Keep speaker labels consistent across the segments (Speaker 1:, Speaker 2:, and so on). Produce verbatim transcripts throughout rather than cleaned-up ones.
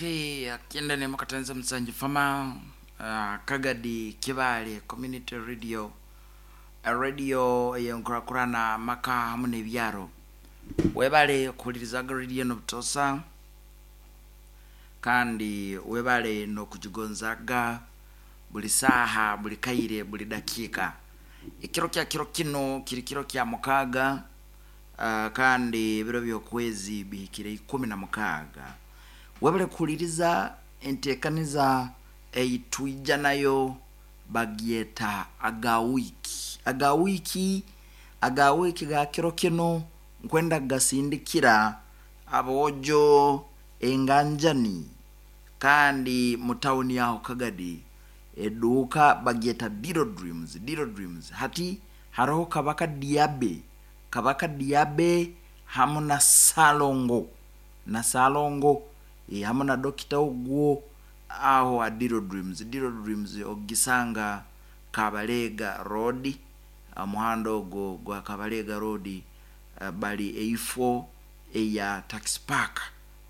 Speaker 1: Okay, akienda ni makatanza msanju fama uh, Kagadi Kibale Community Radio, a radio yenkurakurana maka hamu n'ebyaro. Webale kuhulirizaga radio nobutosa, kandi webale nokugigonzaga buli saaha, buli kaire, buli dakiika. Ekiro kya kiro kino kiri kiro kya mukaaga, uh, kandi ebiro by'okwezi bihikire ikumi na mukaaga. Webale kuhuliriza enteekaniza eitwija nayo bagyeta aga wiiki. Aga wiiki, aga wiiki ga kiro kino nkwenda kugasindikira aboojo enganjani, kandi mu tawuni yaho Kagadi eduuka bagyeta Diro Dreams. Diro Dreams hati haroho Kabaka Diabe, Kabaka Diabe hamu na Salongo, na Salongo e, hamu na dokita ogwo aho a Diro Dreams. Diro Dreams ogisanga Kabalega Road, omuhanda ogwo gwa Kabalega Road, uh, bali eifo eya taxi park,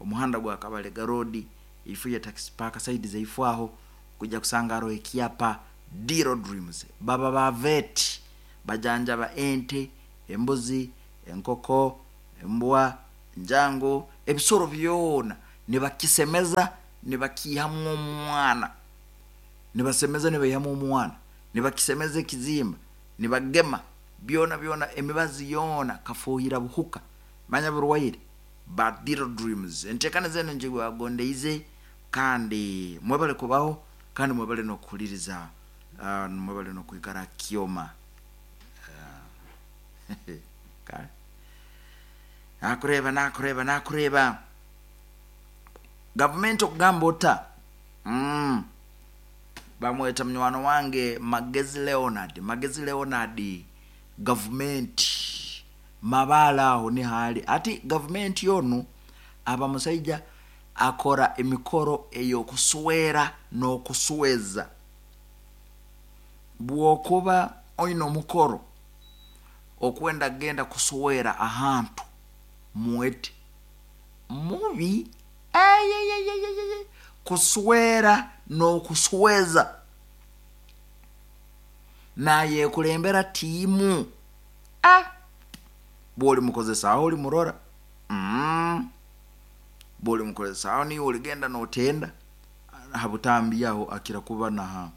Speaker 1: omuhanda gwa Kabalega Road, eifo ya taxi park, side zeifo aho kujja kusanga hariho ekyapa Diro Dreams. Baba ba vet, bajanjaba ente, embuzi, enkoko, embwa, enjango, ebisoro byona nibakisemeza, nibakiihamu omwana, nibasemeza nibaihamu omwana, nibakisemeza ekizimba, nibagema byona byona, emibazi yoona kafuuhira buhuka, manya burwaire. Ba Diro Dreams enteekaniza eno njibagondeize, kandi mwebale kubaho, kandi mwebale n'okuhuliriza, uh, mwebale n'okwikara kyoma. uh, kale nakureeba, nakureeba, nakureeba gavumenti okugamba ota, mm. Bamweta munywano wange Magezi Leonard. Magezi Leonard, gavumenti mabaala aho nihaali ati gavumenti onu aba musaija akora emikoro ey'okuswera n'okusweza. Bw'okuba oine omukoro okwenda kugenda kuswera ahantu, mwete mubi eyeyeyeyeye kuswera n'okusweza, nayekulembera tiimu. Ah, bw'oli mukozesaaho oli murora, mm. bw'oli mukozesaaho niiwe oligenda n'otenda ha butambi aho, akira kuba naha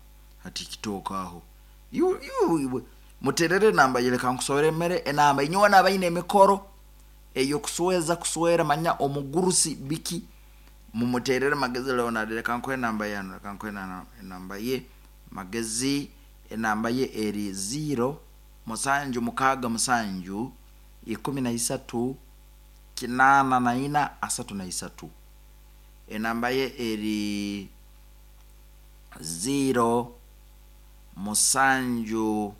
Speaker 1: ha TikTok aho. Iwe iwe muterere enamba ye, leka nkusoremere enamba. Inyowe n'abaine emikoro ey'okusweza kuswera, manya omugurusi biki, mumuterere Magezi Leonard. Leka nkuhe enamba yanu, leka nkuhe enamba ye Magezi. Enamba ye eri ziro musanju mukaaga musanju ikumi na isatu kinaana na ina asatu na isatu. Enamba ye eri ziro musanju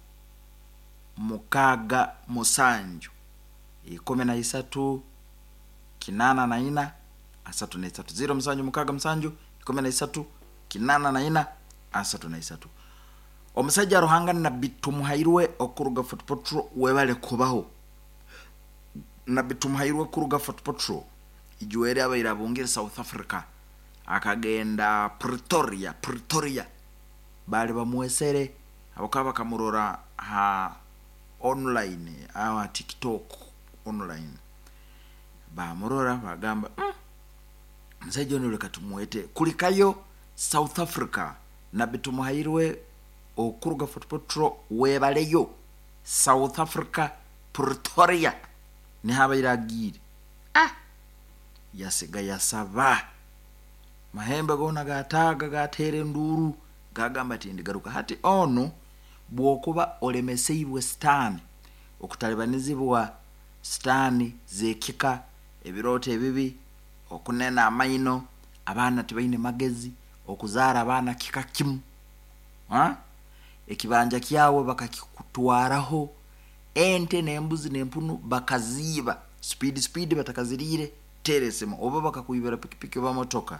Speaker 1: mukaaga musanju ikumi na isatu kinaana na ina asatu na isatu. Ziro musanju mukaaga musanju ikumi na isatu kinaana na ina asatu na isatu. Omusajja Ruhanga Nabbi Tumuhairwe okuruga Fort Portal, webale kubaho. Nabbi Tumuhairwe kuruga Fort Portal ijwere abaire abungire South Africa, akagenda Pretoria. Pretoria bali bamwesere abakaba bakamurora ha online aho ha TikTok online, bamurora bagamba, mm, omusajja ono leka tumwete kulikayo South Africa. Nabbi Tumuhairwe okuruga Fort Portal, webaleyo South Africa Pretoria nihabaire agiire. Ah, yasiga yasaba mahembe goona gataaga gateera enduuru, gagamba ati ndigaruka. Hati ono bw'okuba olemeseibwe sitaani, okutalibanizibwa sitaani z'ekika, ebirooto ebibi, okunena amaino, abaana tibaine magezi, okuzaara abaana kika kimu, ha? Ekibanja kyawe bakakikutwaraho, ente n'embuzi n'empunu bakaziiba speed speed, batakaziriire, teera esimu, oba bakakwibira pikipiki oba motoka,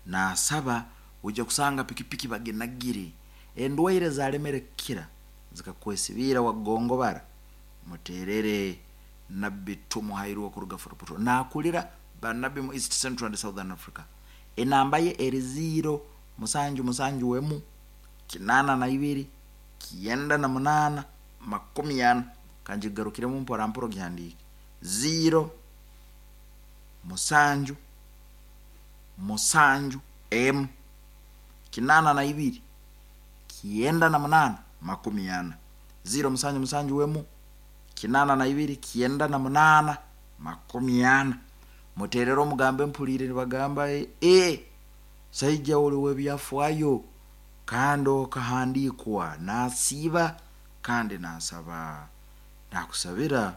Speaker 1: nasaba ojja kusanga pikipiki baginagire, endwaire zalemere kukira zikakwesibiira wagongobara, muterere Nabbi Tumuhairwe okuruga Fort Portal. Nakulira banabbi mu East, Central and Southern Africa. Enamba ye eri ziro musanju musanju emu kinana na ibiri kyenda na munana makumi ana. Kanjigarukiremu mpora mpora ogihandiike. Ziro musanju musanju emu kinana na ibiri kyenda na munana makumi ana. Ziro musanju musanju emu kinana na ibiri kyenda na munana makumi ana. Muterere omugambe mpulire nibagamba e saija oli w'ebyafaayo kandi okahandiikwa nasiiba kandi nasaba, nakusabira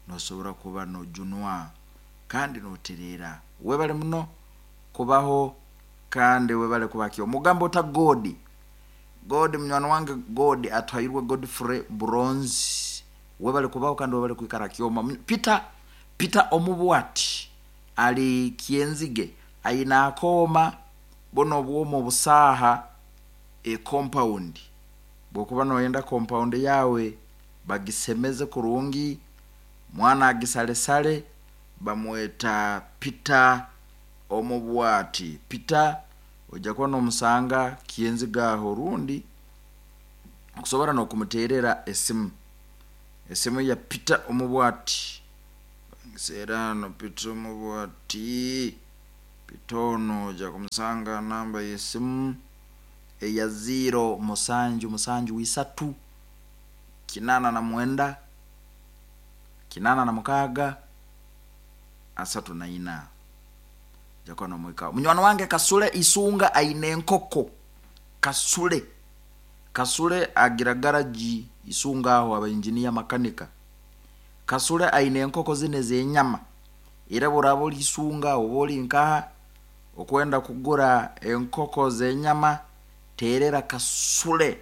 Speaker 1: nosobora kuba nojunwa kandi notereera. Webale muno kubaho kandi webale kubakyo. Omugambo ota Godi, Godi munywani wange, Godi Atuhairwe Godfrey Bronze, webale kubaho kandi webale kwikara kyoma. Peter Peter Omubwati ali Kyenzige, aine akooma buno obwoma obusaaha e compound. Bwokuba noyenda compound yawe bagisemeze kurungi, mwana agisalesale, bamweta Peter Omubwati. Peter ojja kuba nomusanga Kyenzige aho, rundi okusobora n'okumuterera esimu. Esimu ya Peter Omubwati ngiseera. Peter Omubwati, Peter ono ojja kumusanga namba y'esimu eya ziro musanju musanju isatu kinana na mwenda kinana na mukaaga asatu na ina. Ojja kuba nomwikaho. Munywani wange Kasule Isunga aine enkoko. Kasule Kasule agira garagi Isunga aho, aba engineer makanika. Kasule aine enkoko zinu ez'enyama, era bworaba oli Isunga oba oli nkaha okwenda kugura enkoko z'enyama, terera Kasule.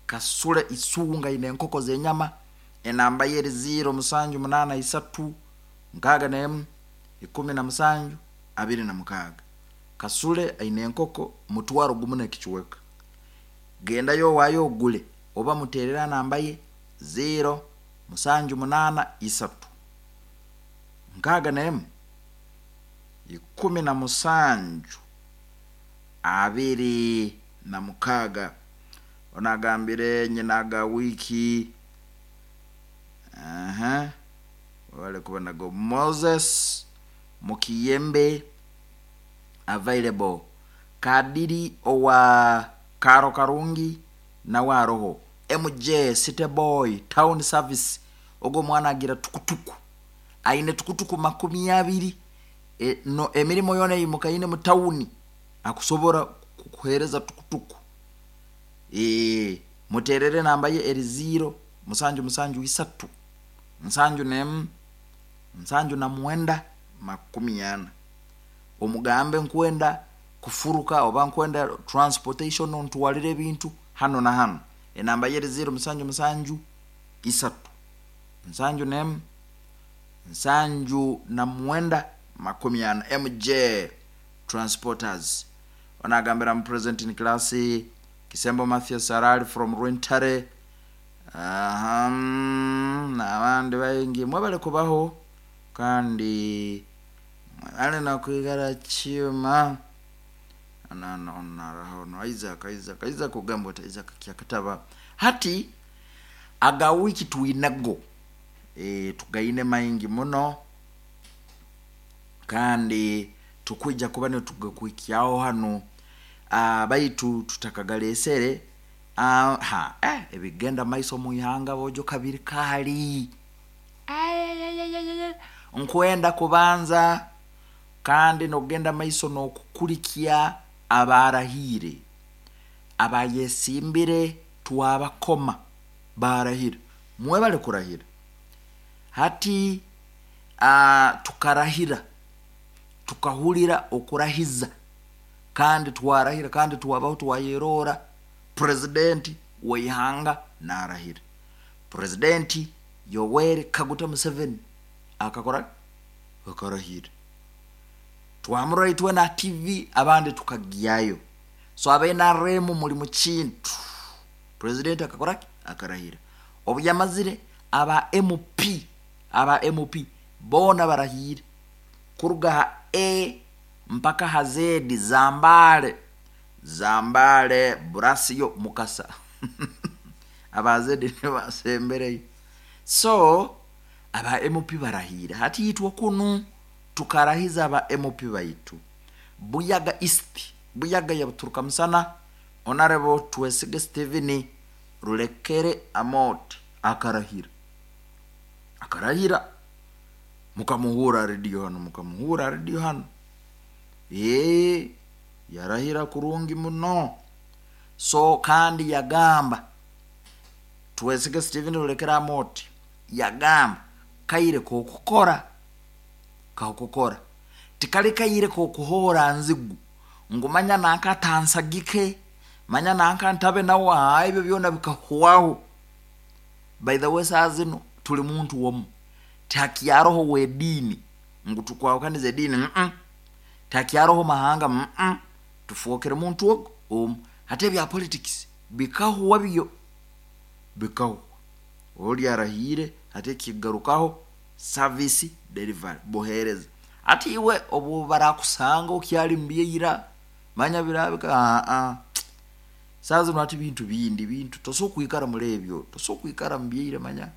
Speaker 1: Kasule Isunga aine enkoko z'enyama. Enamba ye eri ziro musanju munana isatu nkaaga n'emu ikumi na musanju abiri na mukaaga. Kasule aine enkoko mutwaro gumu n'ekicweka. Gendayo owaayo ogule oba muterera namba ye ziro musanju munana isatu nkaaga n'emu ikumi na musanju abiri na mukaaga. Onagambire nyina ga wiki aha wale kuba nago Moses Mukiyembe available. Kadiri owa Karo Karungi nawe aroho. M J City Boy Town Service, ogwo omwana agira tukutuku, aine tukutuku makumi abiri. e, no emirimo yona eimukaine mu tawuni akusobora kukuhereza tukutuku. e, muterere namba ye eri ziro musanju musanju isatu nsanju nemu nsanju na mwenda makumi ana. Omugambe nkwenda kufuruka oba nkwenda transportation ntwalire ebintu hano na hano. Enamba ye eri ziro musanju musanju isatu nsanju nemu nsanju na mwenda makumi ana. M J Transporters onagambira mu present in class. Kisembo Mathias Arali from Rwentare. Aham, n'abandi baingi mwebale kubaho kandi mwebale nokwigara kyuma. Narahono Isaac Isaac Isaac ogamba oti Isaac kyakataba hati aga wiki twinago e, tugaine maingi muno kandi tukwija kuba nitugakwikyaho hano. uh, baitu tutakagalesere uh, ha eh, ebigenda maiso muihanga bojo kabiri kali. Nkwenda kubanza kandi nokugenda maiso nokukulikia abarahire abayesimbire twabakoma barahira. Mwebale kurahira. Hati uh, tukarahira, tukahulira okurahiza kandi twarahira kandi twabaho twayerora presidenti weihanga narahira. Presidenti Yoweri Kaguta Museveni akakora akarahira, twamurora itwe na T V, abandi tukagyayo. So aba N R M muli mu kintu. President akakora ki? Akarahira. Obu yamazire, aba M P, aba M P boona barahire kuruga ha A mpaka hazedi Zambale, Zambale Burasiyo Mukasa abazedi nibasembereyo. So aba M P barahira hati yitwa kunu tukarahiza aba M P baitu Buyaga East, Buyaga ya Buturuka Musana, Honorable Twesige Steven Rulekere Amot akarahira, akarahira mukamuhura radio hano, mukamuhura radio hano eh yarahira kurungi muno. So kandi yagamba Twesige Steven Rulekere Amot yagamba kaire kokukora kakukora tikali kaire kokuhora nzigu ngumanya nanka tansagike manya nanka ntabe nawe ebyo byona bikahuwaho. By the way, saa zino tuli muntu womu takyaroho wedini ngu tukwawukanize dini mm -mm. Takyaroho mahanga mm -mm. Tufuokere muntu ogo omu hate bya politics bikahuwa byo bikahuwa oli arahire hate kigarukaho service delivery bohereza ati iwe obu barakusanga okyali mbyeira manya birabika a a sazo nati bintu bindi bintu toso kuikara mulebyo toso kuikara mbyeira manya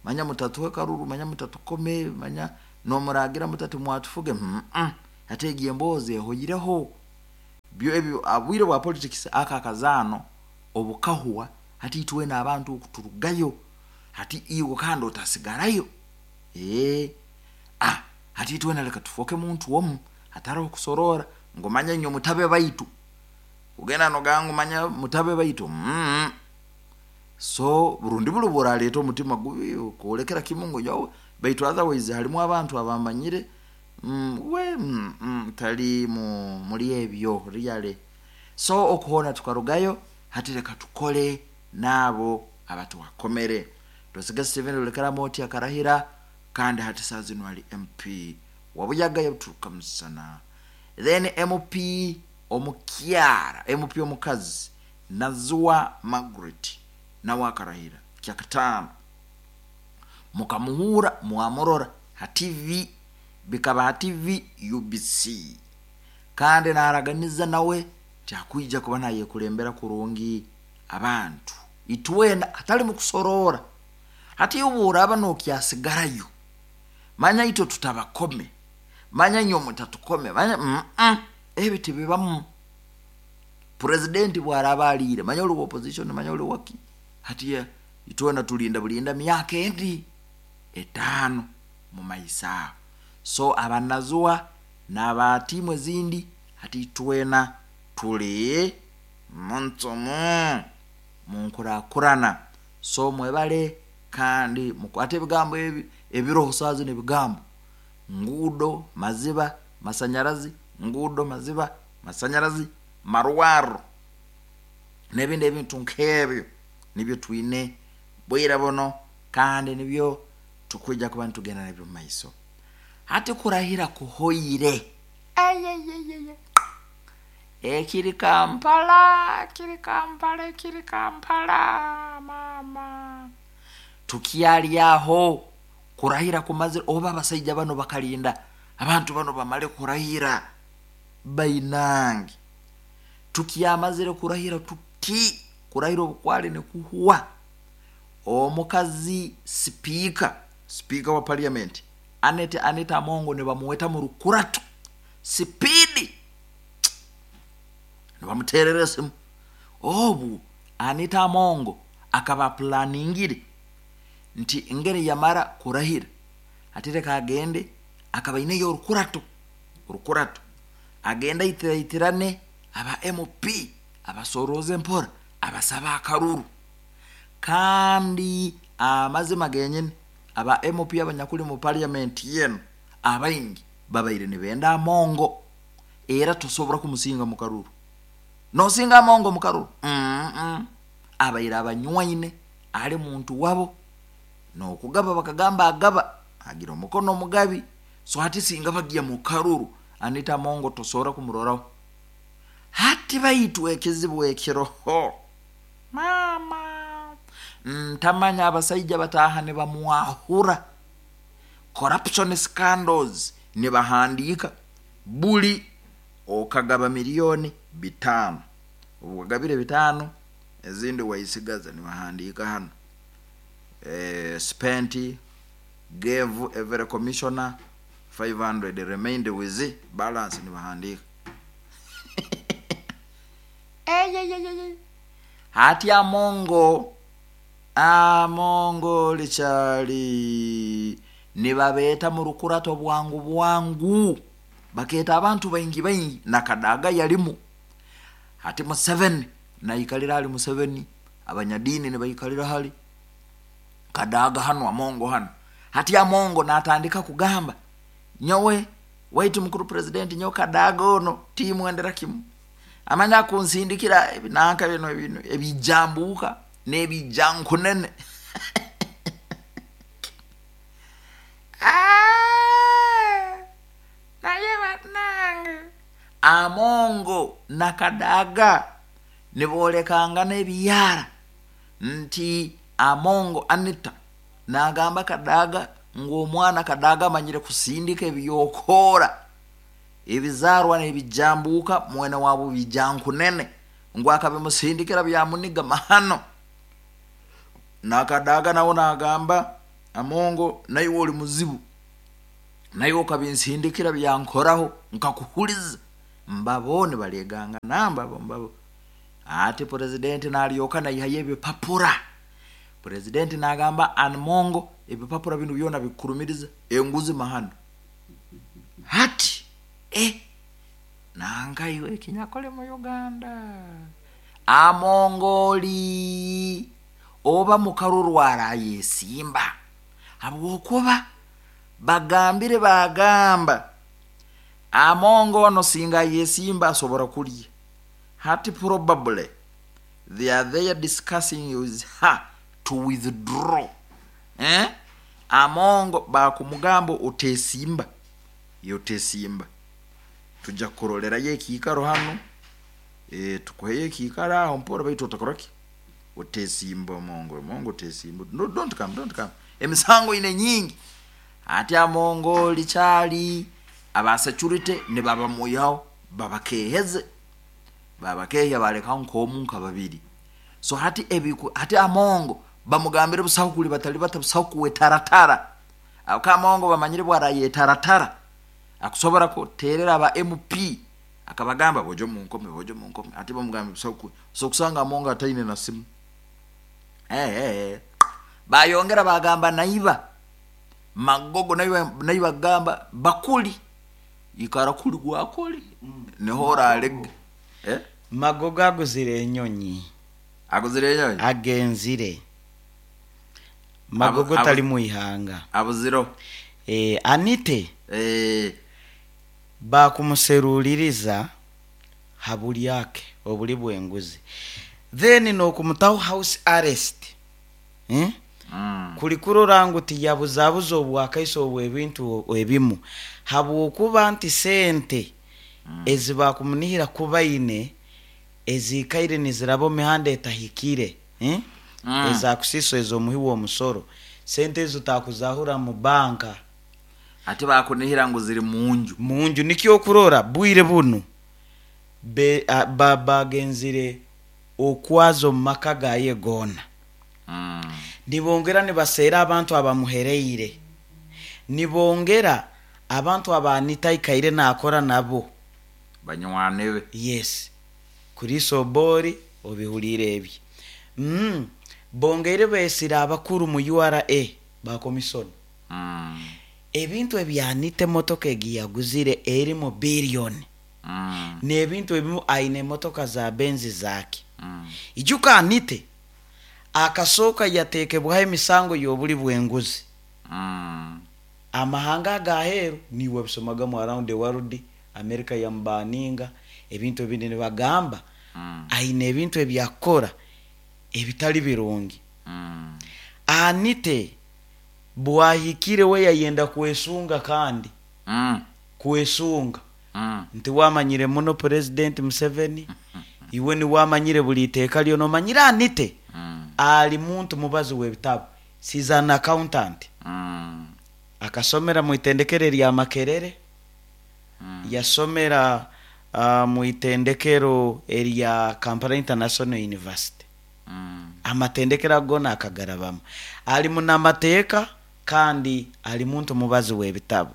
Speaker 1: manya mutatuwe karuru manya mutatukome manya no muragira mutatu mwatufuge mm -mm. Ate giemboze hoyireho byo ebyo abwire bwa politics aka kazano obukahuwa hati tuwe na abantu okuturugayo hati iwe kandi otasigarayo eh ah hati tuwe naleka tufoke muntu womu hataro kusorora ngomanya nyo mutabe baitu ugenda nogangu manya mutabe baitu mm. So burundi bulu buraleeta omutima gubi kuolekera kimungo yawe baitu otherwise halimu abantu abamanyire mm, we mm, mm, tali mu muri ebyo really. So okuhona tukarugayo hati reka tukole nabo abatu wakomere. Twesige Steven Rulekere Amot akarahira kandi hati saa zino ali M P wabuyaga yaturuka musana. Then M P omukyara M P omukazi Nazua Margaret nawe akarahira kyakatano mukamuhura muamorora ha T V bikaba ha T V U B C kandi naraganiza nawe kyakwija kuba naye kulembera kurungi abantu itwena atali mukusorora hati ubura bano kyasigarayo manya ito tutabakome manya nyo mutatukome manya mm -mm. Ebiti bibamu president bwarabalire manya uli opposition manya uli waki hati itwena tulinda bulinda myaka endi etano mu maisa. So abanazua n'abatimu zindi hati twena tuli muntomo munkurakurana. So mwebale kandi mukwate ebigambo ebi ebiroho sazi n'ebigambo ngudo maziba masanyarazi ngudo maziba masanyarazi marwaro n'ebindi ebintu nk'ebyo nibyo twine bwira bono kandi nibyo tukwija kuba ntugenda nabyo mu maiso. Hati kurahira kuhoire ayayayaya ekiri Kampala kiri Kampala kiri Kampala mama tukialyaho kurahira kumazira oba abasajja bano bakalinda abantu bano bamale kurahira bainangi tukiamazire kurahira tuti kurahira obukwale ne kuhuwa omukazi speaker speaker wa parliament Anete Anita Amongo ne bamuweta mu rukuratu sipidi ne bamuterera simu obu Anita Amongo akaba planingire nti ngere yamara kurahira atereka agende akaba ineyo rukurato rukurato agenda itiratirane aba M P abasoroze mpora abasaba akaruru kandi amazima genyene aba M P abanyakuli mu parliament yenu abaingi babaire nibenda Amongo era tosobora kumusinga mu karuru nosinga Amongo mu karuru mm -mm. Abaire abanywaine ali muntu wabo nokugaba bakagamba agaba agira omukono omugabi so hati singa bagiya mu karuru Anita Amongo tosobora kumuroraho hati baitu ekizibu ekiroho mama ntamanya abasajja bataha ne bamuahura corruption scandals ne bahandika buli Okagaba miliyoni bitaano, obu wagabire bitaano, ezindi waisigaza. Nibahandiika hano, eh, spent, gave every commissioner five hundred, remained with balance. Nibahandiika. Eyeyeyeye, hati Amongo, Amongo likyali nibabeeta mu rukurato bwangu bwangu, bakeeta abantu baingi baingi, nakadaga yalimu. Hati Museveni naikalira hali, Museveni, abanyadiini nibaikalira hali, Kadaga hano, Amongo hano. Hati Amongo natandika kugamba, "Nyowe waitu mukuru president, nyowe Kadaga ono timwendera kimu, amanya kunsindikira ebinanka bino bino ebijambuka n'ebijankunene." Ah, naye bannange, Amongo nakadaga nibolekangana ebiyara nti Amongo Anita nagamba Kadaga ng'omwana Kadaga amanyire kusindika ebyokoora, ebizarwa n'ebijambuka, mwene wabo bijankunene, ngu akabimusindikira byamuniga mahano. Nakadaga nawo nagamba Amongo, "Naiwe oli muzibu, naiwe okabinsindikira byankoraho nkakuhuliza." Mbabo nibaleganga nambabo mbabo. Ati purezidenti nalyoka naihayo ebipapura. Purezidenti nagamba, "Amongo, ebipapura binu byona bikurumiriza enguzi mahano." Hati eh, nangaiwe ekinyakole mu Uganda, Amongoli oba mukarurwara ayesimba, habwokuba bagambire, bagamba Amongo ono singa yesimba asobora kulya. Hati probably they are there discussing with her to withdraw, eh? Amongo bakumugamba, "Otesimba, yotesimba, tujja kukurolerayo ekiikaro hano, e, tukuheyo ekiikaro aho mpora, baitu otakoraki, otesimba. Omongo, Omongo, otesimba. No, don't come, don't come, emisango ine nyingi." Ati Amongo likyali aba security nibabamuyaho, babakeheze, babakehya, balekaho nk'omu nka babiri. So hati ebiku, hati Amongo bamugambire, "Busaho kuli batali bata, busaho kuwetaratara." Ako Amongo bamanyire bwarayetaratara, akusobora kuterera aba M P akabagamba, "Bojo munkome, bojo munkome." Ati bamugambire busaho ku so kusanga Amongo ataine na simu. eh eh bayongera bagamba naiba Magogo, naiba, naiba gamba bakuli ikara kuli gwakuli niho oralega, eh.
Speaker 2: Magogo aguzire enyonyi.
Speaker 1: Aguzire enyonyi.
Speaker 2: Agenzire Magogo.
Speaker 1: Abu-
Speaker 2: Tali muihanga.
Speaker 1: Abuziro.
Speaker 2: e, anite
Speaker 1: eh
Speaker 2: bakumuseruliriza habulyake obuli bwenguzi, then nokumutaho house arrest, eh?
Speaker 1: Mm.
Speaker 2: Kuli kurora ngu tiyabuzabuza obwakaiso obwebintu ebimu, habwokuba nti sente mm. ezibakumunihira kubaine ezikaire niziraba omu mihanda etahikire, eh?
Speaker 1: Mm.
Speaker 2: Ezakusiso ez'omuhi w'omusoro, sente ezo takuzahura mu banka.
Speaker 1: Ate bakunihira ngu ziri munju.
Speaker 2: Munju. Nikyo okurora bwire bunu be, a, ba, bagenzire okwaza omu maka gaye goona.
Speaker 1: mm.
Speaker 2: Nibongera nibaseera abantu abamuhereire, nibongera abantu abanitaikaire nakora nabo.
Speaker 1: Banywane be.
Speaker 2: Yes, kurisobori obihulire ebyo. mm. bongeire besira abakuru mu U R A bakomisona.
Speaker 1: mm.
Speaker 2: Ebintu ebyanita, emotoka egi yaguzire eri mu biliyoni
Speaker 1: mm.
Speaker 2: n'ebintu ebimu, aine emotoka za benzi zake.
Speaker 1: mm.
Speaker 2: Ijuka Anite akasooka yateekebwaho emisango y'obuli bw'enguzi.
Speaker 1: mm.
Speaker 2: Amahanga agaheeru niwe bisomagamu, around the world, America yamubaninga ebintu ebindi, nibagamba
Speaker 1: mm.
Speaker 2: aine ebintu ebyakukora ebitali birungi.
Speaker 1: mm.
Speaker 2: Anite bwahikire we yayenda kwesunga kandi
Speaker 1: mm.
Speaker 2: kwesunga
Speaker 1: mm.
Speaker 2: nti wamanyire muno President Museveni, iwe niwamanyire buli iteeka lyona omanyire. Anite
Speaker 1: mm.
Speaker 2: ali muntu mubazi w'ebitabo, she's an accountant.
Speaker 1: mm.
Speaker 2: Akasomera mu itendekero lya Makerere.
Speaker 1: Mm.
Speaker 2: Yasomera uh, mu itendekero erya Kampala International University.
Speaker 1: Mm.
Speaker 2: Amatendekero ago akagarabamu, ali munamateeka kandi ali muntu mubazi w'ebitabo.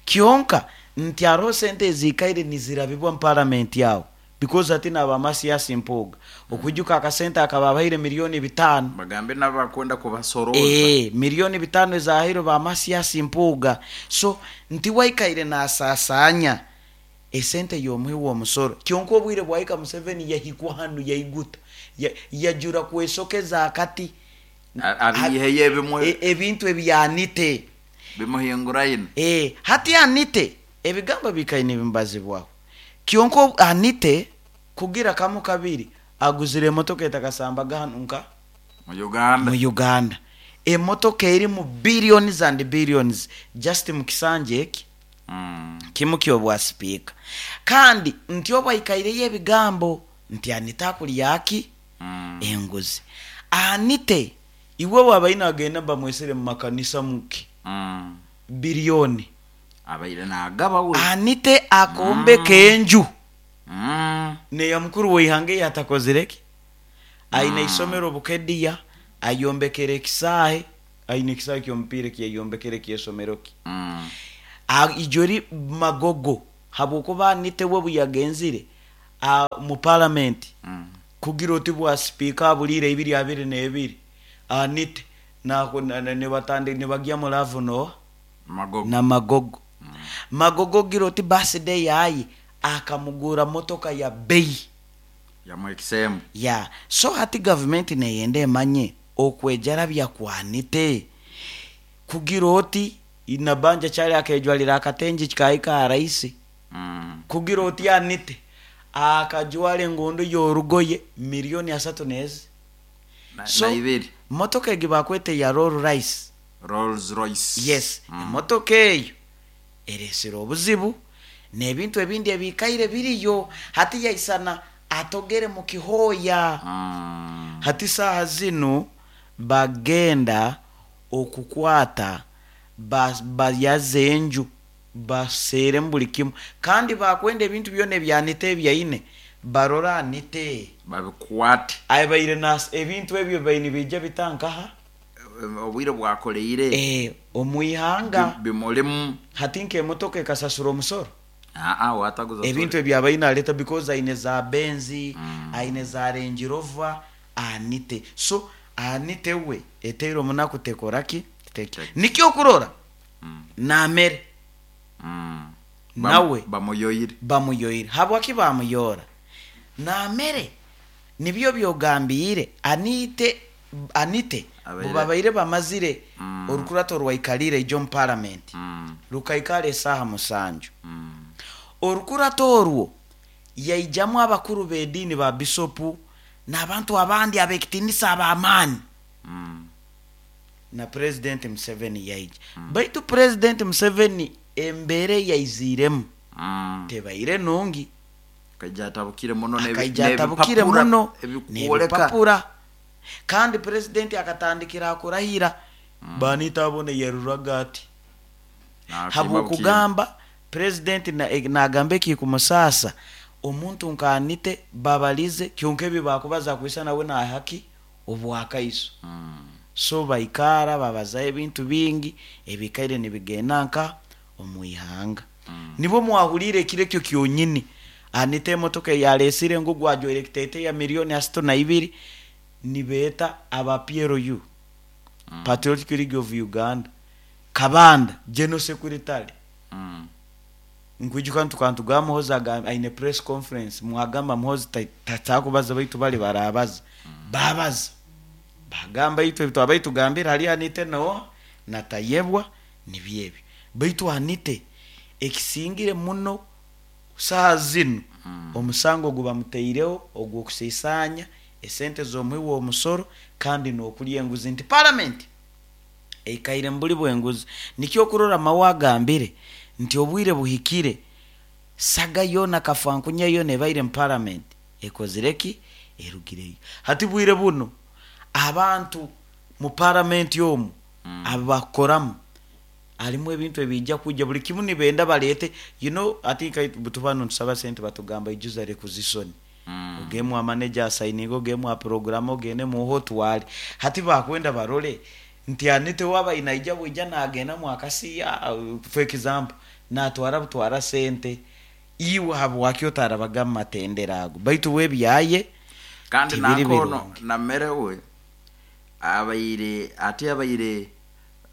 Speaker 2: Kyonka nti hariho sente ezikaire nizirabibwa mu paramenti yawo, because ati naba Mathias Mpuuga okwijuka akasente akababaire miliyoni bitaano.
Speaker 1: Bagambe n'abakwenda kubasoroza.
Speaker 2: Eh, miliyoni bitaano ezahairwe ba Mathias Mpuuga. So nti waikaire nasasanya esente y'omuhi w'omusoro. Kyonka obwire bwahika, Museveni yahikwa hanu yaiguta, Ya- yajura kwesokeza akati.
Speaker 1: A- abiiheyo ebimwe.
Speaker 2: E- ebintu ebyanite
Speaker 1: bimuhinguraine.
Speaker 2: Eh, hati anite ebigambo bikaine bimbazibwaho. Kyonka ob- anite kugira kamu kabiri aguzire emotoka etakasambaga hanu nka
Speaker 1: mu Uganda.
Speaker 2: Mu Uganda, emotoka eri mu billions and billions just mu kisanja eki
Speaker 1: Mm.
Speaker 2: kimu kyobwa sipiika. Kandi nti obwaikaireyo ebigambo nti anite akulyaki
Speaker 1: Mm.
Speaker 2: enguzi. Anite iwe wabaine agenda bamwesere mu makanisa muki
Speaker 1: Mm.
Speaker 2: biliyoni.
Speaker 1: Abaire nagaba we.
Speaker 2: Anite akombeka enju
Speaker 1: Mm.
Speaker 2: neya mukuru weihanga eyatakozireki. Aine isomero Bukediya, ayombekere ekisaahe, aine ekisaahe kyomupiira kyeyombekere kyesomero ki.
Speaker 1: Mm.
Speaker 2: A- ijori Magogo, habwokuba anite we buyagenzire a- mu paramenti
Speaker 1: Mm.
Speaker 2: kugira oti bwa sipiika abulire ibiri abiri n'ebiri, anite nako- na- na- nibatandi nibagya mu love no
Speaker 1: Magogo.
Speaker 2: Na Magogo. Magogo gira oti birthday yaye akamugura motoka ya bei.
Speaker 1: Yamwekisembu.
Speaker 2: Ya, so hati gavumenti neyenda emanye okwejarabya kwanite kugira oti inabanja kyali akejwalira akatengi kikahika araisi.
Speaker 1: Mm.
Speaker 2: Kugira oti anite akajwala engondo yorugoye miliyoni asatu nezi.
Speaker 1: Na,
Speaker 2: So-
Speaker 1: na ibiri.
Speaker 2: Motoka egi bakwete ya Rolls Royce.
Speaker 1: Rolls Royce.
Speaker 2: Yes.
Speaker 1: Mm.
Speaker 2: Emotoka eyo eresire obuzibu n'ebintu ebindi ebikaire biriyo. Hati yaisana atogere mu kihoya.
Speaker 1: Mm.
Speaker 2: Hati saaha zinu bagenda okukwata ba- bayaze enju, baseeremu buli kimu, kandi bakwenda ebintu byona ebyanite ebyaine barora anite
Speaker 1: babikwate.
Speaker 2: Abaire nas ebintu ebyo baine bijja bitankaha.
Speaker 1: Obwire bwakoleire.
Speaker 2: Eh, omwihanga.
Speaker 1: bi- bimulimu.
Speaker 2: Hati nk'emotoka ekasasura omusoro?
Speaker 1: Aa, wataguza.
Speaker 2: Ebintu ebyabaine aleta, because aine za Benzi,
Speaker 1: Mm.
Speaker 2: aine za Range Rover anite. So anite we eteire omunaku tekoraki teke.
Speaker 1: Teke.
Speaker 2: Nikyo okurora
Speaker 1: Mm.
Speaker 2: namere.
Speaker 1: Mm.
Speaker 2: Nawe.
Speaker 1: Bamuyoyire.
Speaker 2: Bamuyoire. Habwaki bamuyora namere? Nibyo byogambire anite anite
Speaker 1: Abaire-
Speaker 2: bubabaire bamazire
Speaker 1: Mm.
Speaker 2: orukurato rwaikalire ijo mu paramenti
Speaker 1: Mm.
Speaker 2: rukaikara esaaha musanju.
Speaker 1: Mm.
Speaker 2: Orukurato orwo yaijamu abakuru b'ediini, ba bisopu n'abantu abandi abekitinisa ab'amaani.
Speaker 1: Mm.
Speaker 2: Na President Museveni yaija, baitu President Museveni embeera yaiziiremu
Speaker 1: Mm.
Speaker 2: tebaire nungi.
Speaker 1: Akaija atabukire muno n'ebi-
Speaker 2: Akaija atabukire
Speaker 1: n'ebipapura
Speaker 2: muno
Speaker 1: ebikwoleka.
Speaker 2: n'ebipapura. Kandi presidenti akatandikira akurahira banita abone yaruraga ati
Speaker 1: Nakimba.
Speaker 2: Habwokugamba presidenti na- eh, nagamba ekikumusasa omuntu nkanite babalize kyonka ebyo bakubaza kwisa nawe nahaki obwakaiso.
Speaker 1: Mm.
Speaker 2: So baikara babazaho ebintu bingi ebikaire nibigenda nka omwihanga.
Speaker 1: Mm.
Speaker 2: Nibo mwahulire ekiro ekyo kyonyini anite emotoka eyalesire ngu gwajwaire ekiteteya miliyoni asatu na ibiri, nibeeta aba P L U,
Speaker 1: Mm.
Speaker 2: Patriotic League of Uganda, Kabanda general secretary.
Speaker 1: Mm.
Speaker 2: Nkwijuka ntukantu ga Muhozi aga- aine press conference mwagamba Muhozi tatakubaza, baitu bali barabaza, babaza bagamba itwe twabai tugambira hali anite no natayebwa nibyebyo. Baitu anite ekisingire muno saha zinu,
Speaker 1: Mm.
Speaker 2: omusango gubamuteireho ogw'okusiisanya esente z'omuhi w'omusoro kandi n'okulya enguzi, nti paramenti eikaire mbuli bwenguzi. Nikyo okurora mawe agambire nti obwire buhikire saga yona kafankunya yona ebaire mu paramenti ekozire ki erugireyo. Hati bwire buno abantu mu paramenti omu
Speaker 1: Mm.
Speaker 2: abakoramu Alimu ebintu ebijja kujja, buli kimu nibenda baleete. You know, I think I- bwe ntusaba sente batugamba ijuza requisition,
Speaker 1: Mm.
Speaker 2: ogemu amaneja asayininga, ogemu aprogramu, ogende muho otwale. Hati bakwenda barole nti anite waba inaija bwija nagenda mwakasiya, uh, for example, natwara butwara sente, iwe habwaki otarabaga mumatendera ago? Baitu webyaye
Speaker 1: Kandi
Speaker 2: tibiri
Speaker 1: nakono
Speaker 2: birungi.
Speaker 1: Namere we abaire ate abaire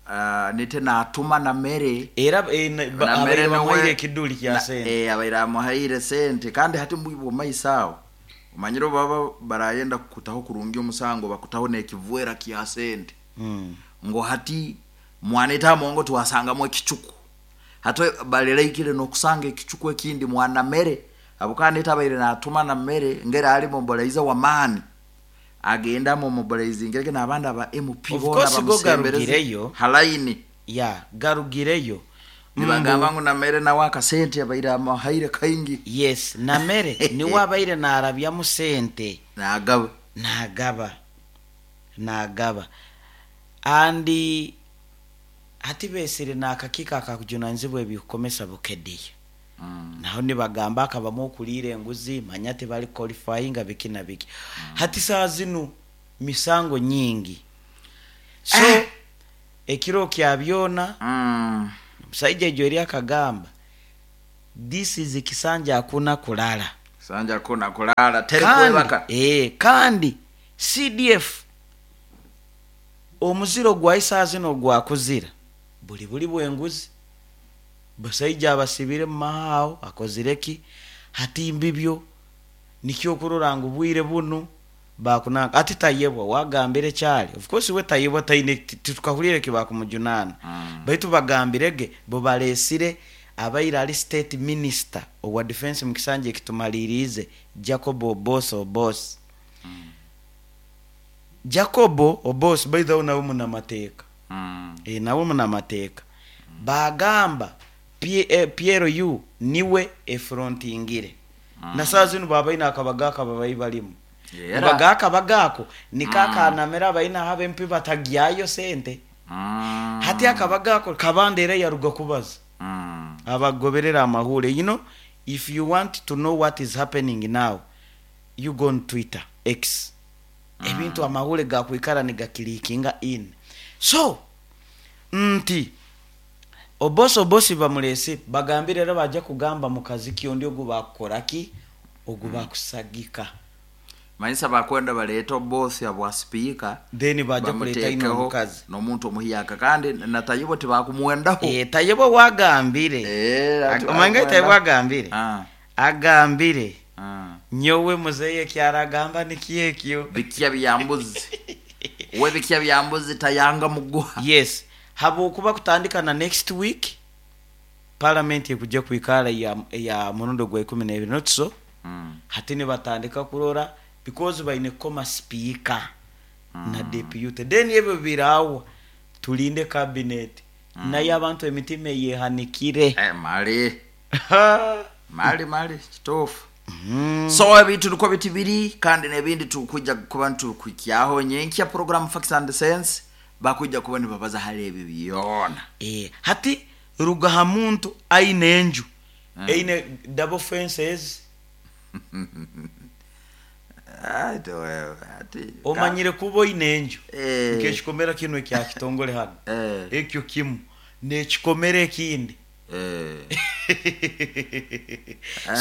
Speaker 1: uh, nite natuma Namere.
Speaker 2: Era eh, na- ba-
Speaker 1: Namere
Speaker 2: abaire
Speaker 1: niwe-
Speaker 2: bamuhaire ekiduli kya
Speaker 1: na-
Speaker 2: sente.
Speaker 1: eh, abaire amuhaire sente. Kandi hati mbwibwe maiso awo omanyire baba barayenda kukutaho kurungi omusango, bakutaho n'ekivwera kya sente,
Speaker 2: Mm.
Speaker 1: ngo hati mwaneta amongo twasangamu ekicuku, hati baleleikire nokusanga ekicuku ekindi mwanamere abukaneta abaire natuma Namere ngera ali mobolaiza wamaani, agenda mu mobilizing n'abandi aba M P
Speaker 2: Of
Speaker 1: bona
Speaker 2: course, go
Speaker 1: bamusembereze
Speaker 2: garugireyo.
Speaker 1: Halaini.
Speaker 2: Ya garugireyo.
Speaker 1: Nibagamba ngu Namere nawe akasente abaire amuhaire kaingi.
Speaker 2: Yes, Namere niwe abaire narabyamu sente.
Speaker 1: Nagaba.
Speaker 2: Nagaba, nagaba. Andi hati besire n'akakiiko akakujunanizibwa ebikukomesa Bukedea,
Speaker 1: Mm.
Speaker 2: naho nibagamba akabamu okuliira enguzi, manya tebali qualifying, biki na biki. Hati saa zinu misango nyingi, so
Speaker 1: Eh.
Speaker 2: ekiro kya byona,
Speaker 1: Mm.
Speaker 2: omusajja ejo eri akagamba, "This is kisanja hakuna kulala."
Speaker 1: Sanja kuna kulala, teri
Speaker 2: Kandi,
Speaker 1: kwebaka.
Speaker 2: eh, kandi C D F omuziro gwa isaa zino gwakuzira buli buli bwenguzi, basaija abasibire mumahaawo akozireki. Hati mbibyo nikyo okurora ngu bwire bunu bakunanga ati Tayebwa wagambire kyali. Of course we Tayebwa taine, titukahulire kibakumujunaana,
Speaker 1: Mm.
Speaker 2: baitu bagambirege bo balesire abaire ali state minister owa defense mu kisanja ekitumaliriize, Jacob Obos Obos. Jacobo Obos, by the way, nawe munamateeka.
Speaker 1: Mm.
Speaker 2: E, nawe munamateeka. Bagamba P- eh, P L U niwe efrontingire, mm. na saa zino babaina akabagaako ababayi balimu.
Speaker 1: Era.
Speaker 2: Bagaako abagaako niko akanamera abaina abe M P batagyayo sente.
Speaker 1: Mm.
Speaker 2: Hati akabagaako Kabanda era yaruga kubaza
Speaker 1: Mm.
Speaker 2: abagoberera amahule. You know, if you want to know what is happening now, you go on Twitter, X. Ebintu amahule gakwikara nigakilikinga in. So nti obosi obosi bamulese, bagambire era bajja kugamba mukazi kyondi ogu bakukoraki, ogu bakusagika.
Speaker 1: Manyisa bakwenda baleeta obosi abwa sipiika.
Speaker 2: Then bajja kuleta ino
Speaker 1: bamuteekeho
Speaker 2: omukazi.
Speaker 1: N'omuntu omuhiyaka, kandi natayibwa tebakumuwendaho.
Speaker 2: E, Tayebwa wagambire.
Speaker 1: Eh, ati
Speaker 2: Omange Tayebwa agambire,
Speaker 1: Ah,
Speaker 2: agambire,
Speaker 1: ah.
Speaker 2: "Nyowe muzeyi ekyaragamba nikyekyo."
Speaker 1: Bikya byambuzi we, bikya byambuzi tayanga muguha.
Speaker 2: Yes, habwokuba kutandika na next week parliament ekujja kwikara ya, ya murundi gwa ikumi nebiri, not so?
Speaker 1: Mm.
Speaker 2: Hati nibatandika kurora because baine kukoma speaker mm. na deputy, then ebyo birawa tulinde cabinet mm. naye abantu emitima eyehanikire.
Speaker 1: Eh, mali mali mali kituufu.
Speaker 2: Mm.
Speaker 1: So ebintu niko biti biri, kandi nebindi tukujja kuba ntukwikyaho nyenkya program Facts and Sense, bakujja kuba nibabaza hali ebyo byona.
Speaker 2: Eh, hati ruga ha muntu aine enju eine double fences.
Speaker 1: Ai, towewe, ati
Speaker 2: Omanyire kuba oine enju
Speaker 1: Eh.
Speaker 2: nkekikomera kino ekya kitongole hano,
Speaker 1: Eh.
Speaker 2: ekyo kimu nekikomera ekindi.
Speaker 1: Eh.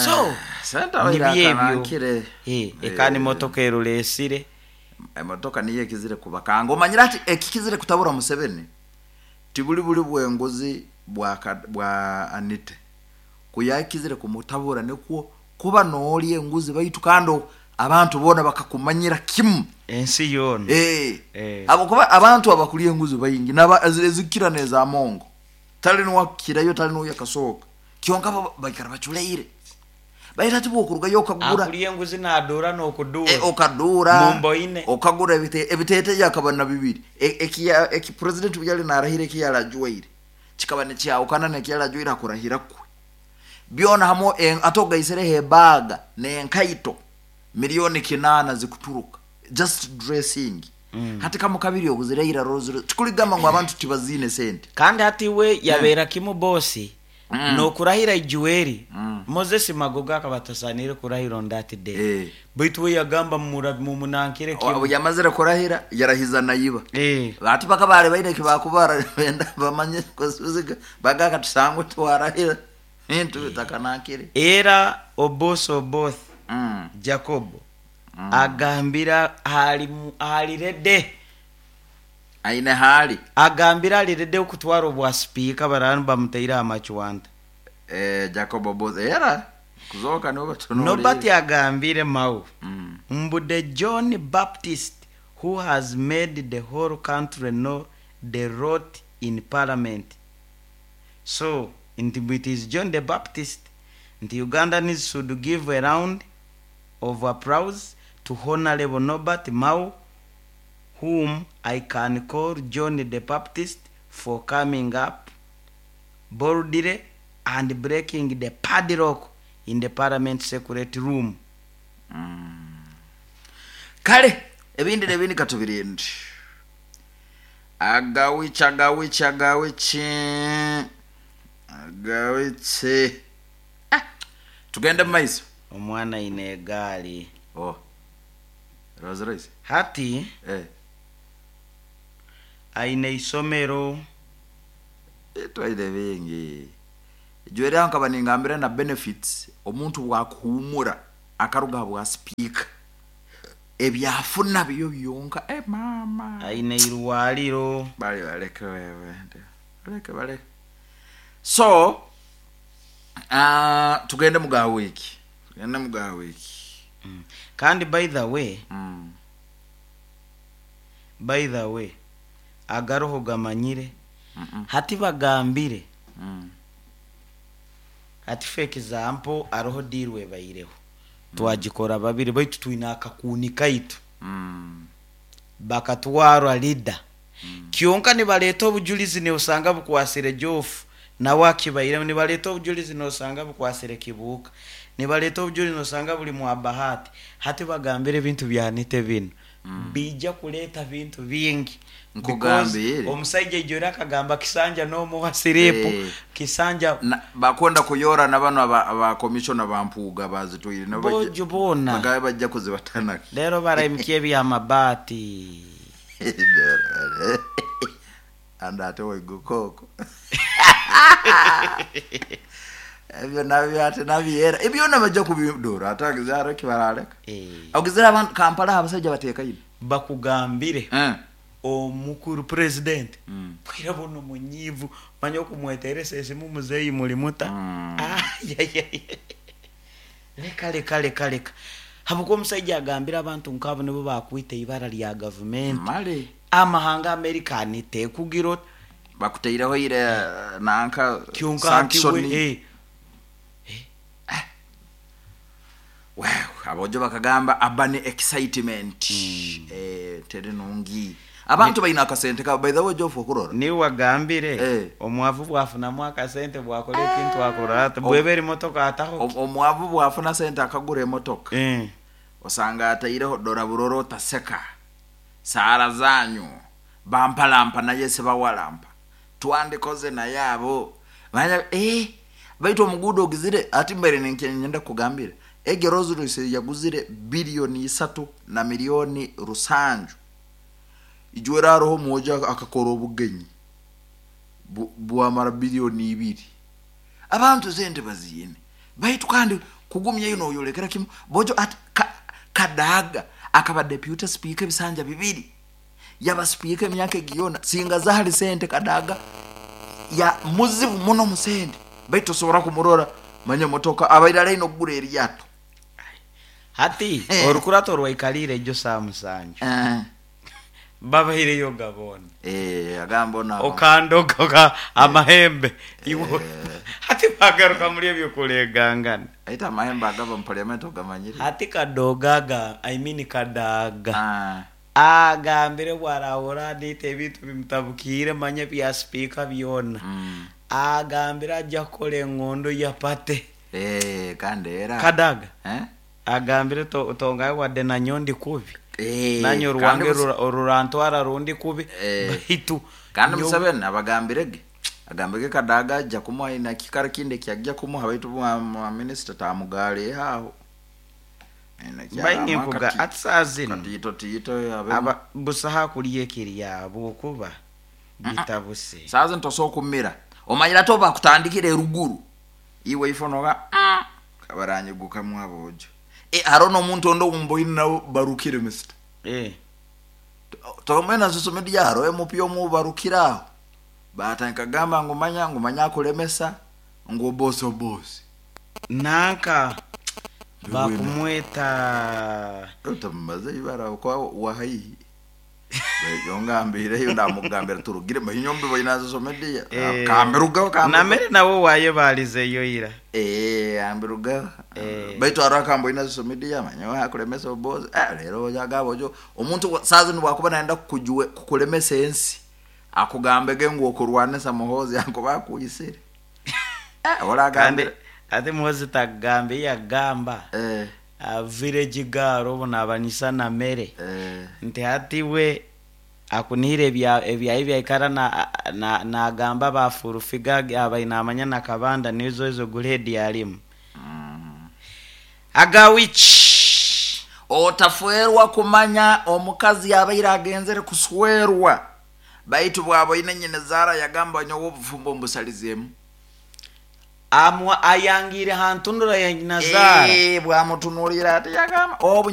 Speaker 2: So
Speaker 1: senta
Speaker 2: nibyo ebyo.
Speaker 1: ebyo.
Speaker 2: Eh, ekandi motoka erulesire.
Speaker 1: Emotoka niyo ekizire kubakanga. Omanyire ati ekikizire kutabura Museveni tibuli buli bwenguzi bwa ka- bwa anite kuyakizire kumutabura, nikwo kuba noolya enguzi baitu kandi abantu boona bakakumanyira kimu.
Speaker 2: Ensi yoona.
Speaker 1: Eh.
Speaker 2: Eh.
Speaker 1: Abo kuba abantu abakulya enguzi baingi naba ezikira nezamongo, tali niwakirayo, tali nuya kasooka kyonka bo baikara baculeire baita ati bwokurugayo okagura.
Speaker 2: Akulya enguzi nadura n'okudura.
Speaker 1: Eh, okadura.
Speaker 2: Mumboine.
Speaker 1: Okagura ebite- ebiteteyi akaba na bibiri. E- ekiya eki president yali narahira ekiyalajwaire kikaba nikyawukana nekiyalajwaire akurahira kwe byona hamwe en- ate ogaisereho ebaga nenkaito miliyoni kinana zikuturuka just dressing.
Speaker 2: Mm.
Speaker 1: Hati kamu kabiri oguziraira roziro tikuligamba ngu abantu tibazine sente.
Speaker 2: Kandi hati we yabeera kimu bosi
Speaker 1: Mm.
Speaker 2: nokurahira ijuweri.
Speaker 1: Mm.
Speaker 2: Moses Magogo akaba atasanire kurahira on that day.
Speaker 1: Eh.
Speaker 2: Baitu we yagamba mura- mumunankire
Speaker 1: Obu
Speaker 2: kimu.
Speaker 1: yamazire kurahira yarahiza nayiba.
Speaker 2: Eh.
Speaker 1: Ati bakabare baine kibakubara benda bamanye kusuziga bagaka tusangwe twarahira bintu bitakanankire.
Speaker 2: Era Oboth Oboth
Speaker 1: Mm.
Speaker 2: Jacobo agambira ali alirede
Speaker 1: Aine hali.
Speaker 2: Agambira alirede okutwara obwa sipiika baranu bamuteire amakiwanta.
Speaker 1: Eh, Jacob Oboth era kuzoka nibo batunulire.
Speaker 2: Nobert agambire mau
Speaker 1: Mm.
Speaker 2: mbu the John Baptist who has made the whole country know the rot in parliament. So nti it is John the Baptist nti Ugandans should give a round of applause to Honorable Norbert Mao, whom I can call John the Baptist, for coming up boldly and breaking the padlock in the parliament secret room.
Speaker 1: Kale ebindi nebindi katubirinde. Agawichi agawichi agawichi agawichi. Ah, tugende mu maiso.
Speaker 2: Omwana ine egaali.
Speaker 1: Oh. Rolls Royce.
Speaker 2: Hati
Speaker 1: Eh.
Speaker 2: aine isomero.
Speaker 1: Twaire bingi. Jwere nkaba ningambira na benefits omuntu bwakuhumura akaruga bwa speaker. Ebyafuna byo byonka eh mama.
Speaker 2: Aine irwaliro.
Speaker 1: Bali baleke wewe. Baleke baleke. So uh, tugende muga wiki. Tugende muga wiki.
Speaker 2: Mm. Kandi by the way,
Speaker 1: Mm.
Speaker 2: by the way, agaroho gamanyire.
Speaker 1: Mm -mm.
Speaker 2: Hati bagambire.
Speaker 1: Mm.
Speaker 2: Hati for example aroho dirwe baireho. Twagikora babiri baitu twina akakuni kaitu.
Speaker 1: Mm.
Speaker 2: Bakatwarwa leader. Mm. Kyonka nibaleta obujulizi ne usanga bukwasire Jofu nawe akibaire, nibaleta obujulizi nosanga bukwasire Kibuuka, nibaleta obujulizi nosanga buli mwa Bahati. Hati bagambire ebintu byanite bino. Mm. Bijja kuleta bintu bingi.
Speaker 1: Nkugambire.
Speaker 2: Because omusajja ijora akagamba kisanja n'omuwa siripu.
Speaker 1: Eh.
Speaker 2: Kisanja
Speaker 1: Na, bakonda kuyora na bano aba, aba commissioner bampuuga bazitwire nabo bajja-
Speaker 2: bojo bona
Speaker 1: bagabe bajja kuzibatanaka.
Speaker 2: Lero barayimkiye ebyamabaati.
Speaker 1: Anda ate waigukoko. Ebyo nabyo ate nabyera ebyona bajja kubidora ate agizaro kibaraleka.
Speaker 2: Eh.
Speaker 1: Ogizira abantu Kampala abasajja bateeka ino.
Speaker 2: Bakugambire
Speaker 1: Eh.
Speaker 2: omukuru president
Speaker 1: Mm.
Speaker 2: bwira buno munyivu manya okumweteresa esimu muzeeyi mulimuta.
Speaker 1: Mm.
Speaker 2: Ayayaya. Leka leka leka leka habwokuba omusajja agambira abantu nkabo nibo bakwita ibara lya gavumenti.
Speaker 1: Male
Speaker 2: amahanga Amerikani tekugira oti
Speaker 1: bakuteireho ire nanka
Speaker 2: kyonka hati
Speaker 1: sanction.
Speaker 2: we, eh,
Speaker 1: Wow, abojo bakagamba abane excitement. Eh, tere nungi. Abantu balina akasente ka by the way Jofu okurora.
Speaker 2: Niwe wagambire
Speaker 1: Eh.
Speaker 2: omwavu bwafunamu akasente bwakola ekintu akora ati bweba emotoka ataho.
Speaker 1: Om- Omwavu bwafuna sente akagura emotoka.
Speaker 2: Eh.
Speaker 1: Osanga ataireho dora buroro taseka. Sara zanyu bampalampa naye sebawalampa. Twandikoze naye abo. Manya eh baitu omugudo ogizire ati mbere nyenda kugambira. Ege Rolls Royce yaguzire bilioni isatu na milioni rusanju. Ijwera roho moja akakora obugenyi Bu- bwamara bilioni ibiri. Abantu sente baziyine. Baitu kandi kugumya ino oyolekera kimu bojo ati ka, Kadaga akaba deputy speaker ebisanja bibiri. Yaba speaker emyaka egiyona singa zahali sente Kadaga ya muzibu muno musente. Baitu osobora kumurora manya motoka abairala ino kugura eryato.
Speaker 2: Hati
Speaker 1: Eh.
Speaker 2: orukurato rwaikalire ejo saa musanju.
Speaker 1: Eh.
Speaker 2: Babaireyo gabona.
Speaker 1: Eh, agamba ono
Speaker 2: Okandogoka amahembe. Iwo. Hati bagaruka muri ebyo kulegangana.
Speaker 1: Aita amahembe agava mu parliament ogamanyire.
Speaker 2: Hati kadogaga, I mean Kadaga.
Speaker 1: Ah.
Speaker 2: Agambire bwarahura nite ebintu bimutabukire manya bya speaker byona.
Speaker 1: Mm.
Speaker 2: Agambire ajja kukola engondo ya pate.
Speaker 1: Eh, kandi era.
Speaker 2: Kadaga.
Speaker 1: Eh?
Speaker 2: Agambire to tongaye wadde na nyondi kubi.
Speaker 1: Eh,
Speaker 2: Nanye oruwange
Speaker 1: kandi
Speaker 2: rura- orurantwara rundi kubi.
Speaker 1: Eh.
Speaker 2: Baitu
Speaker 1: Kandi
Speaker 2: nyowe-
Speaker 1: Museveni abagambirege, agambirege Kadaga ajja kumuha ina kikaro kindi kyajja kumuha, baitu mwa minisita tamugale aho.
Speaker 2: Bainenkuga ati saa zino
Speaker 1: Katito tito abe.
Speaker 2: Aba busaha kulya ekiri yabwokuba bitabuse.
Speaker 1: Saa zino tosobola kumira, omanyira to bakutandikira eruguru iwe ifo noga kabaranyigukamu abojo. E, haro n'omuntu ondo wumboine nabo barukire misita.
Speaker 2: Eh.
Speaker 1: Tomwena social media haro M P omu barukire aho batandika gamba ngu manya ngu manya akulemesa ngu obosi obosi.
Speaker 2: Nanka bakumweta.
Speaker 1: Tamaze ibara kwa wahaihi yongambireyo ndamugambira turugire mahinyombe boina social media.
Speaker 2: Eh,
Speaker 1: kambirugaho.
Speaker 2: Namere nabo waye balizeyo ira.
Speaker 1: Eh, ambirugaho.
Speaker 2: Eh.
Speaker 1: Baitu hariho akamboina social media manya akulemesa obosi. Eh, rero ojagabo ojo omuntu wa- saa zino bwakuba nayenda kukujuwe kukulemesa ensi akugambege ngu okurwanisa Muhozi akuba akuyisire. Eh,
Speaker 2: Kandi
Speaker 1: oragambire.
Speaker 2: Ate Muhozi tagambe yagamba
Speaker 1: eh
Speaker 2: uh, village girl obu nabanisa namere
Speaker 1: eh
Speaker 2: nti hati we akunihira ebya ebyayi byaikara na- na- nagamba bafurufiga abaine amanya nakabanda nizo ezo grade yalimu agawichi.
Speaker 1: Otaferwa kumanya omukazi yabaire agenzere kuswerwa, baitu bwaboine nyine zara yagamba nyowe obufumbo mbusalizemu.
Speaker 2: Amwa ayangire hantundura ya nyina zara.
Speaker 1: Eh, bwamutunulira ati yagamba obu.